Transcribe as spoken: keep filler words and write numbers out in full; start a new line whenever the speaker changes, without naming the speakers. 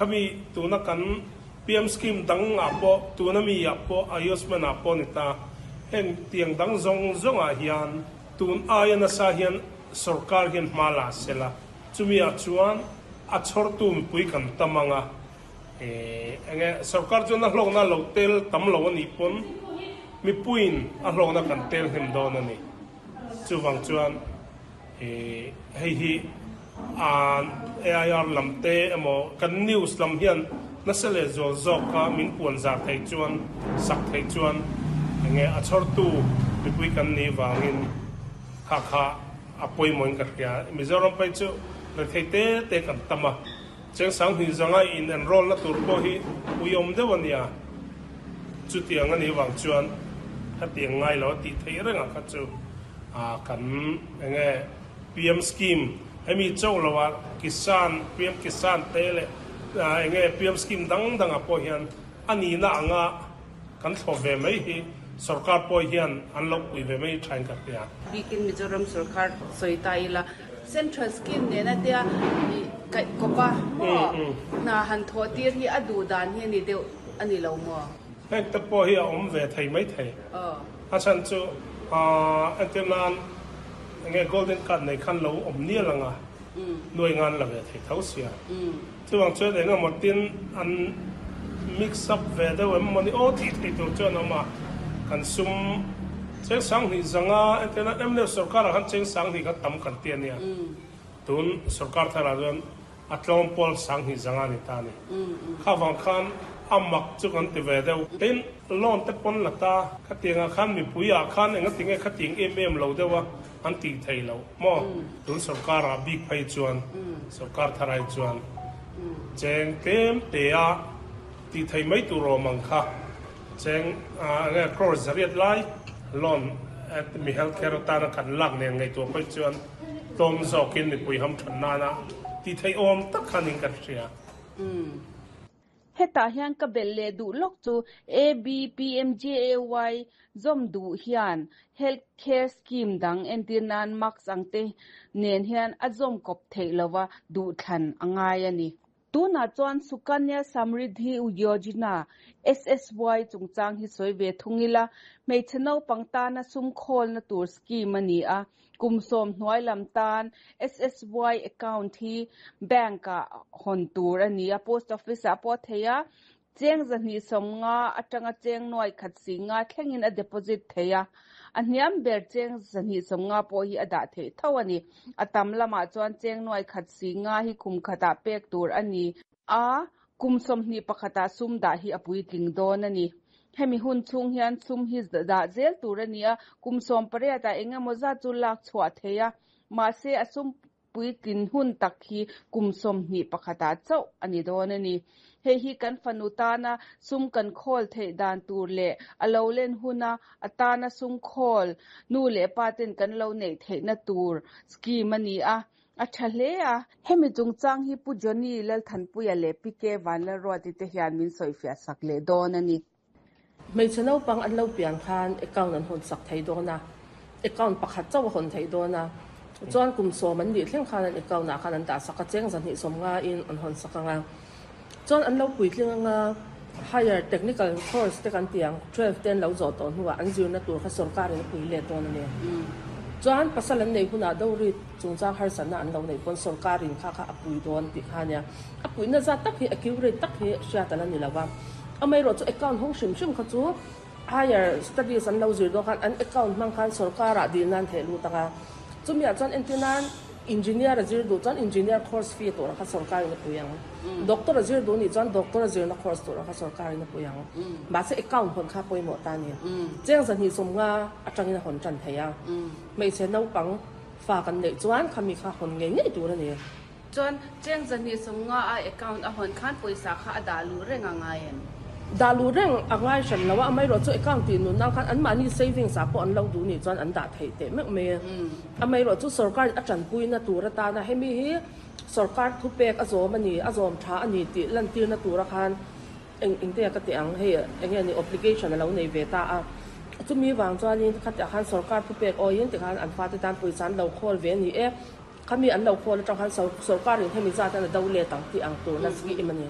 Khami tuna kan P M scheme dang ah pawh, tuna mi ah pawh, Ayushman ah pawh ni ta, heng tiang dang zawng zawngah hian tun aia nasa hian sorkar hian hma la sela, chumi ah chuan a chhawrtu mipui kan tam anga, enge sorkar chuan a hlawkna lo tel tam lo anih pawn mipuiin a hlawkna kan tel hnem dawn a ni. Chuvang chuan hei hi A I R lam te emaw kan news lam hian nasa leh zual zawka min puan zar thei chuan, sak thei chuan, enge a chhawrtu mipui kan nih vangin kha kha a pawimawhin ka hria. Mizoram phei chu rethei te te kan tam a, cheng sanghnih zanga in enroll na tur pawh hi uiawm deuh a nia. Chutiang a nih vang chuan khatiang ngai lo a tih theih rengah kha chu kan enge P M scheme hemi chauh loah Kisan, P M Kisan te leh enge P M scheme dang dangah pawh hian a nihna anga kan thlawp ve mai hi sorkar pawh hian an lo pui ve mai thain ka hria.
Bikin Mizoram sorkar sawi ta ila, central scheme nena tia kaih kawpa maw hna han thawh tir hi a duh dan hi a ni deuh a ni lo maw?
Heng te pawh hi a awm ve thei mai thei. A chhan chu entir nan enge golden card nei khan lo awm nial anga nuai ngan la ve thei tho sia. Chuvang chuan eng emaw tin an mix up ve deuh em mawni aw tih thei tur chuan a awm a. Kan sum cheng sanghnih zanga, entir nan M N F sorkarah khan cheng sanghnih kha tam kan ti a nia. Tun sorkar tharah chuan a tlawm pawl sanghnih zanga ni ta ni. Kha vang khan a mak chu kan ti ve deuh. Tin, loan te pawn la ta khatiangah khan mipuiah khan enga tinge khatiang em em lo deuh a an tih thei lo maw? Tun sorkarah bik phei chuan, sorkar tharai chuan cheng tlem te a tih thei mai tur awm ang kha, cheng enge crore zariat lai loan mi health care atana kan lak nen ngaihtuah phei chuan tlawm zawkin mipui ham than nana tih thei awm tak khanin ka hria.
Hetah hian ka belh leh duh lawk chu A B P M J A Y zawm duh hian health care scheme dang, entir nan max ang te nen hian a zawm kawp theih lova, duh thlan a ngai a ni. Tunah chuan Sukanya Samriddhi Yojana, S S Y chungchang hi sawi ve thung ila. Hmeichhe naupang tana sum khawlna tur scheme a ni a. Kum sawm hnuai lam tan S S Y account hi bank ah hawn tur a ni a, post office ah pawh thei a. Cheng zahnih sawmnga atanga cheng nuai khat singa thlengin a deposit thei a. A hniam ber cheng zahnih sawmnga pawh hi a dah theih tho a ni. A tam lamah chuan cheng nuai khat singa hi kum khatah pek tur a ni a. Kum sawmhnih pakhatah sum dah hi a puitling dawn a ni. Hemi hun chhung hian sum hi dah zel tur a ni a. Kum sawm pariat ah engemaw zat chu lak chhuah thei a, mahse a sum puitlin hun tak hi kum sawmhnih pakhatah chauh a ni dawn a ni. Hei hi kan fanu tana sum kan khawl theih dan tur leh a lo len huna atana sum khawl nu leh pa ten kan lo neih theihna tur scheme a ni a, a tha hle a. Hemi chungchang hi Pu Johnny Lalthanpuia leh P K Vanlalruati te hian min sawifiah sak leh dawn a ni.
Hmeichhe naupang an lo pian khan account an hawn sak thei dawn a, account pakhat chauh a hawn thei dawn a. Chuan kum sawm an nih thleng khan an account ah khan an dah sak a, cheng zahnih sawm nga in an hawn sak anga. Chuan an lo puitling anga, higher technical course te kan tiang, twelve ten lo zawh tawh hnuah an zirna tur kha sorkarin a pui let dawn a ni. Chuan pasal an nei hunah dowry chungchang harsatna an lo nei pawn sorkarin kha kha a pui dawn tih kha ania. A puihna zat tak hi accurate tak hi hriat ala ni lova. Amaherawh chu account hawng hrim hrim kha chu higher studies an lo zir dawn khan an account hmang khan sorkarah dil nan theh lut anga. Chumiah chuan entir nan engineer a zir duh chuan engineer course fee tur kha sorkarin a pui ang. Doctor a zir duh nih chuan doctor a zirna course tur kha sorkarin a pui ang. Mahse account hawn kha pawimawh ta ni. Cheng zahnih sawm nga atangin a hawn tan thei a. Hmeichhe naupang fa kan neih chuan khami kha hawn ngei ngei tur a ni.
Chuan cheng zahnih sawm nga a account a hawn khan pawisa kha a dah luh reng a ngai em?
Dah luh reng a ngai hran lo a. Amaherawh chu account tih nun nan khan an mahni savings ah pawh an lo duh nih chuan an dah theih teh meuh mai. Amaherawh chu sorkar a tanpuina tur atana hemi hi sorkar thu pek a zawm a ni, a zawm tha a ni tih lan tirna tura khan eng engte ka ti ang, hei enge ni obligation a lo nei ve ta a. Chumi wang chuanin khatiah khan sorkar thu pek awiin tikhan an fate tan pawisa an lo khawl ve ni e. Khami an lo khawl atang khan sorkarin hemi zat an a do let ang tih ang turna scheme a ni.